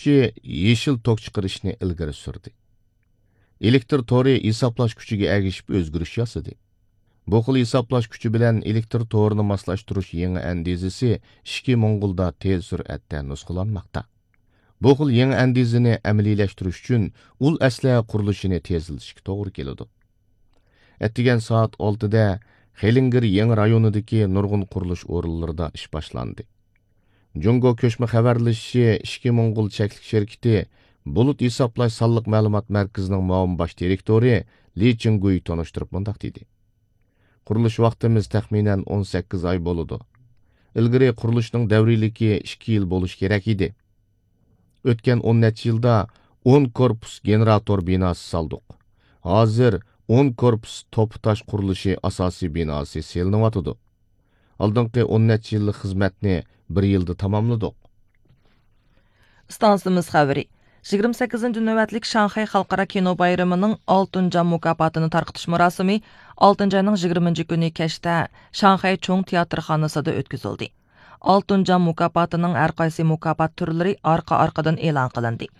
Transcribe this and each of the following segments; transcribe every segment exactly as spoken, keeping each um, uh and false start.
يېشىل توك چىقىرىشنى ئىلگىرى سۈردى. ئېلېكتر تورى ھېسابلاش كۈچىگە ئەگىشىپ ئۆزگىرىش ياسىدى. بۇ خىل ھېسابلاش كۈچى بىلەن ئېلېكتر تورىنى ماسلاشتۇرۇش يېڭى ئەندىزىسى ئىچكى موڭغۇلدا تېز سۈرئەتتە نۇسخىلانماقتا. بۇ خىل يېڭى ئەندىزىنى ئەمەلىيلەشتۈرۈش ئۈچۈن ئۇل ئەسلىھە قۇرۇلۇشىنى تېزلىتىشكە توغرا كېلىدۇ. ئەتىگەن سائەت ئالتىدە خېلىڭگىر يېڭى رايونىدىكى نۇرغۇن قۇرۇلۇش ئورۇنلىرىدا ئىش باشلاندى. جۇڭگو كۆچمە خەۋەرلىشىشى ئىچكى موڭغۇل چەكلىك شىركىتى بۇلۇت ھېسابلاش سانلىق مەلۇمات مەركىزىنىڭ مۇئاۋىن باش دىرېكتورى لى چىڭگۈي تونۇشتۇرۇپ مۇنداق دېدى: قۇرۇلۇش ۋاقتىمىز تەخمىنەن ئون سەككىز ئاي بولىدۇ. ئىلگىرى قۇرۇلۇشنىڭ دەۋرىيلىكى ئىككى يىل بولۇشى كېرەك ئىدى. ئۆتكەن ئون نەچچە يىلدا ئون كورپۇس گېنېراتور بىناسى سالدۇق. ھازىر ئون كورپۇس توپا تاش قۇرۇلۇشى ئاساسىي بىناسى سېلىنىۋاتىدۇ. ئالدىنقى ئون نەچچە يىللىق خىزمەتنى بىر يىلدا تاماملىدۇق. ئىستانسىمىز خەۋىرى. يىگىرمە سەككىزىنچى نۆۋەتلىك شاڭخەي خەلقئارا كىنو بايرىمىنىڭ ئالتىنچى مۇكاپاتىنى تارقىتىش مۇراسىمى ئالتىنچى ئاينىڭ يىگىرمىنچى كۈنى كەچتە شاڭخەي چوڭ تىياتىرخانىسىدا ئۆتكۈزۈلدى. ئالتۇن جام مۇكاپاتىنىڭ ھەر قايسى مۇكاپات تۈرلىرى ئارقا-ئارقىدىن ئېلان قىلىندى.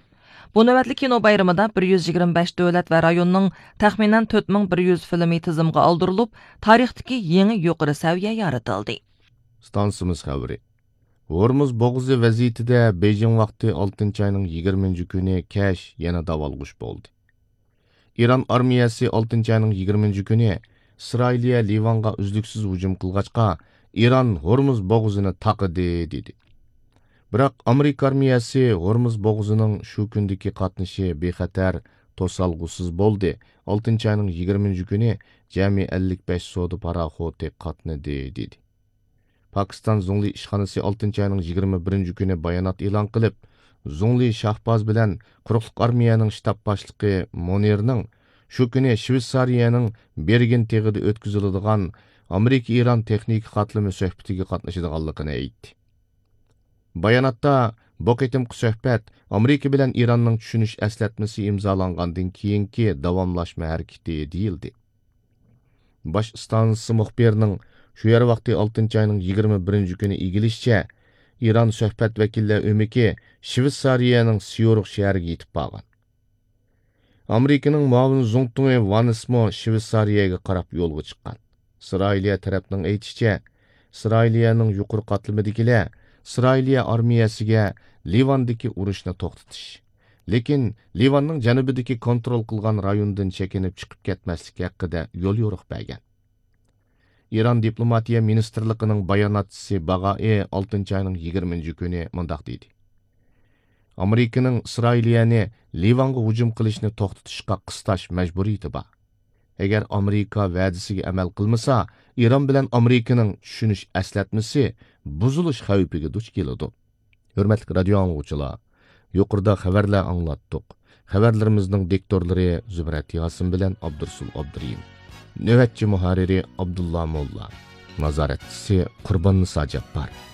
بۇ نۆۋەتلىك كىنو بايرىمىدا بىر يۈز يىگىرمە بەش دۆلەت ۋە رايوننىڭ تەخمىنەن تۆت مىڭ بىر يۈز فىلىمى تىزىمغا ئالدۇرۇلۇپ، تارىختىكى يېڭى يۇقىرى سەۋىيە يارىتىلدى. ئىستانسىمىز خەۋىرى. ھورمۇز بوغۇزى ۋەزىيىتىدە بېيجىڭ ۋاقتى ئالتىنچى ئاينىڭ يىگىرمىنچى كۈنى كەچ يەنە داۋالغۇش بولدى. ئىران ئارمىيەسى ئالتىنچى ئاينىڭ يىگىرمىنچى كۈنى ئىسرائىلىيە لىۋانغا ئۈزلۈكسىز ھۇجۇم قىلغاچقا، ئىران ھورمۇز بوغۇزىنى تاقىدى، دېدى. بىراق ئامېرىكا ئارمىيەسى ھورمۇز بوغۇزىنىڭ شۇ كۈندىكى قاتنىشى بىخەتەر، توسالغۇسىز بولدى، ئالتىنچى ئاينىڭ يىگىرمىنچى كۈنى جەمئىي ئەللىك بەش سودا پاراخوتى قاتنىدى، دېدى. پاكىستان زۇڭلى ئىشخانىسى ئالتىنچى ئاينىڭ يىگىرمە بىرىنچى كۈنى بايانات ئېلان قىلىپ، زۇڭلى شاھباز بىلەن قۇرۇقلۇق ئارمىيەنىڭ شتاب باشلىقى مۇنىرنىڭ شۇ كۈنى شۋېتسارىيەنىڭ بېرگېن تېغىدا ئۆتكۈزۈلىدىغان ئامېرىكا-ئىران تېخنىكا قاتلىمى سۆھبىتىگە قاتنىشىدىغانلىقىنى ئېيتتى. باياناتتا، بۇ قېتىمقى سۆھبەت ئامېرىكا بىلەن ئىراننىڭ چۈشىنىش ئەسلەتمىسى ئىمزالانغاندىن كېيىنكى داۋاملاشما ھەرىكىتى، دېيىلدى. باش ئىستانسىسى مۇخبىرىنىڭ شۇ يەر ۋاقتى ئالتىنچى ئاينىڭ يىگىرمە بىرىنچى كۈنى ئىگىلىشىچە، ئىران سۆھبەت ۋەكىللەر ئۆمىكى شۋېتسارىيەنىڭ سيۇرىخ شەھىرىگە يېتىپ بارغان. ئامېرىكىنىڭ مۇئاۋىن زۇڭتۇڭى ۋانسمۇ شۋېتسارىيەگە قاراپ يولغا چىققان. ئىسرائىلىيە تەرەپنىڭ ئېيتىشىچە، ئىسرائىلىيەنىڭ يۇقىرى قاتلىمىدىكىلەر ئىسرائىلىيە ئارمىيەسىگە لىۋاندىكى ئۇرۇشنى توختىتىش، لېكىن لىۋاننىڭ جەنۇبىدىكى كونترول قىلغان رايوندىن چېكىنىپ چىقىپ كەتمەسلىك ھەققىدە يوليورۇق بەرگەن. ئىران دىپلوماتىيە مىنىستىرلىقىنىڭ باياناتچىسى باغائى ئالتىنچى ئاينىڭ يىگىرمىنچى كۈنى مۇنداق دېدى: ئامېرىكىنىڭ ئىسرائىلىيەنى لىۋانغا ھۇجۇم قىلىشنى توختىتىشقا قىستاش مەجبۇرىيىتى بار. ئەگەر ئامېرىكا ۋەدىسىگە ئەمەل قىلمىسا، ئىران بىلەن ئامېرىكىنىڭ چۈشىنىش ئەسلەتمىسى بۇزۇلۇش خەۋپىگە دۇچ كېلىدۇ. ھۆرمەتلىك رادىيو ئاڭلىغۇچىلار، يۇقىرىدا خەۋەرلەر ئاڭلاتتۇق. خەۋەرلىرىمىزنىڭ دىكتورلىرى زۇمرەت ياسىن بىلەن ئابدۇرۇسۇل ئابدۇرېھىم. نۆۋەتچى مۇھەررىرى ئابدۇللا موللا. نازارەتچىسى قۇرباننىسا جاپپار.